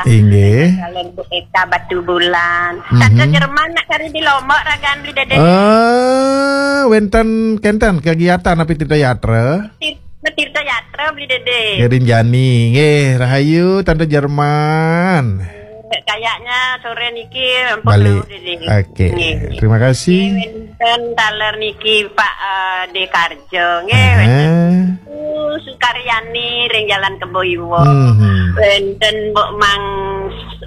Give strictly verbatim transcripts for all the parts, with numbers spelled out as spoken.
Inggih. Kalian Bu Eka Batu Bulan. Mhm. Tante Jerman nak kari di Lombok ragan Beli Dede. Eh, wenten kenten kegiatan api Tirta Yatra? Tir-, Tirta Yatra Beli Dede. Ngiring jani. Nggih, rahayu Tante Jerman. Kayaknya sore niki ampun Balik. Dulu, Dede. Oke. Nggih. Terima kasih. Nggih, wenten taler niki Pak, eh, De Karjo. Nggih, aha. Wenten Bu Sukaryani ring Jalan Kebo Iwa. Mhm. Wenten Mbok Mang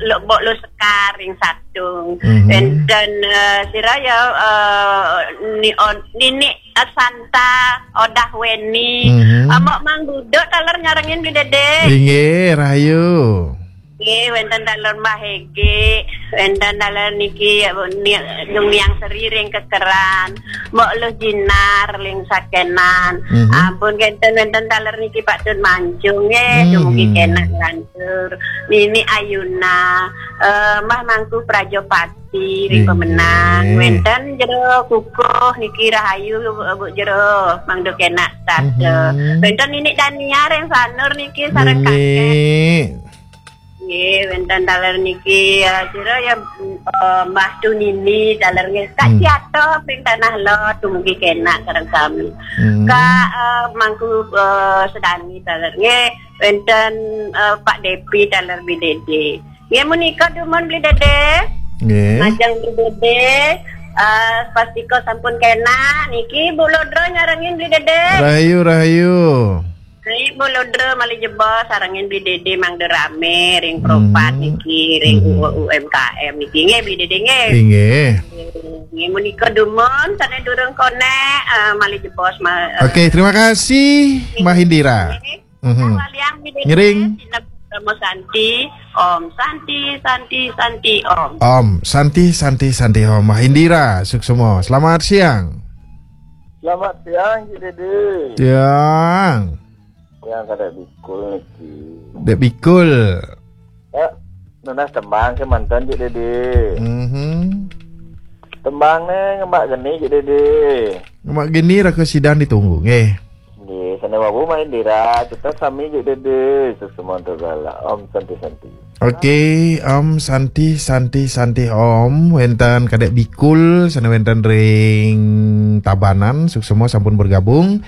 Lo-, Mbok Lo Sekar ring Satung. Mhm. Wenten, eh, sira ya, eh, ni on-, Nini Santa Odah Weni. Mhm. Eh, Mbok Mang Duduk taler nyarengin Beli Dede. Inggih, rahayu. Nggih, wenten taler Mbah Hege, wenten taler niki, ni-, Dung Niang Seri ring Kekeran, Mbok Luh Jinar ring Sakenan. Mhm. Ampun, kenten wenten taler niki Pak Tun Mancung, nggih, mhm. Dumugi kenak lantur. Nini Ayuna, eh, Mbah Mangku Prajopati ring Inggih. Pemenang. Wenten jero kukuh niki rahayu, Bu Jero, mangda kenak tata. Mhm. Wenten Nini Dania ring Sanur niki sareng Nini. Kakek. Nggih, wenten taler niki, eh, sira ya, eh, Mbah Tunini taler nggih. Kak Hmm. Ciato ping Tanah Lot, dumugi kenak sareng sami. Hmm. Kak, eh, Mangku, eh, Sedani taler nggih, wenten, eh, Pak Depi taler Beli Dede. Nggih, menika dumun Beli Dede. Nggih. Majeng Beli Dede, eh, pastika sampun kenak. Niki Bu Lodro nyarengin Beli Dede. Rahayu, rahayu. Baik, Bu Lodro malih jebos sarengin Beli Dede mangda rame ring Propat Hmm. niki, ring Hmm. U-, U M K M niki. Nggih, Beli Dede, nggih. Inggih. Nggih, menika dumun, sane durung konek, eh, malih jebos, ma-, eh, Oke, terima kasih, Mbah Indira. Nggih. Mhm. Waliang Beli Dede, Ngiring. Sineb Rama Santi, Om Santi, Santi, Santi, Om. Om Santi, Santi, Santi, Om. Mbah Indira, suksma. Selamat siang. Selamat siang, Cik Dede. Siang. Yang kada bikul niki. Dek bikul. Ya, nunas tembang ke mantan, Cik Dede. Mhm. Tembang ne ngembak geni, Cik Dede. Ngembak geni raka sidan ditunggu, nggih. Nggih, sane wau Mbah Indira, kita sami, Cik Dede. Suksma tur gala. Om Santi Santi. Oke, Om Santi, Santi, Santi, Om. Wenten Kadek Bikul, sane wenten ring Tabanan, suksma sampun bergabung.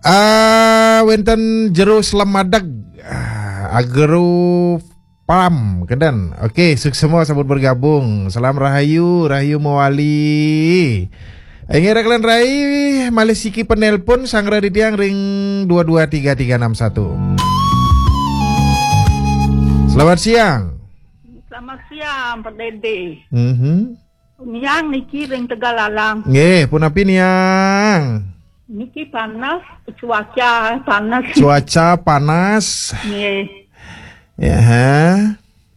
Ah, wenten Jero Slemadeg. Ah, Agro Pam, kenten. Oke, suksma sampun bergabung. Salam rahayu, rahayu mawali. Inggih, Reklen Rai, malih siki penelpon, sanggra titiang ring dua dua tiga tiga enam satu. Selamat siang. Selamat siang, Pak Dede. Mhm. Niang niki ring Tegalalang. Nggih, punapi Niang? Niki panas, cuaca panas. Cuaca panas. Nggih. Ya, ha?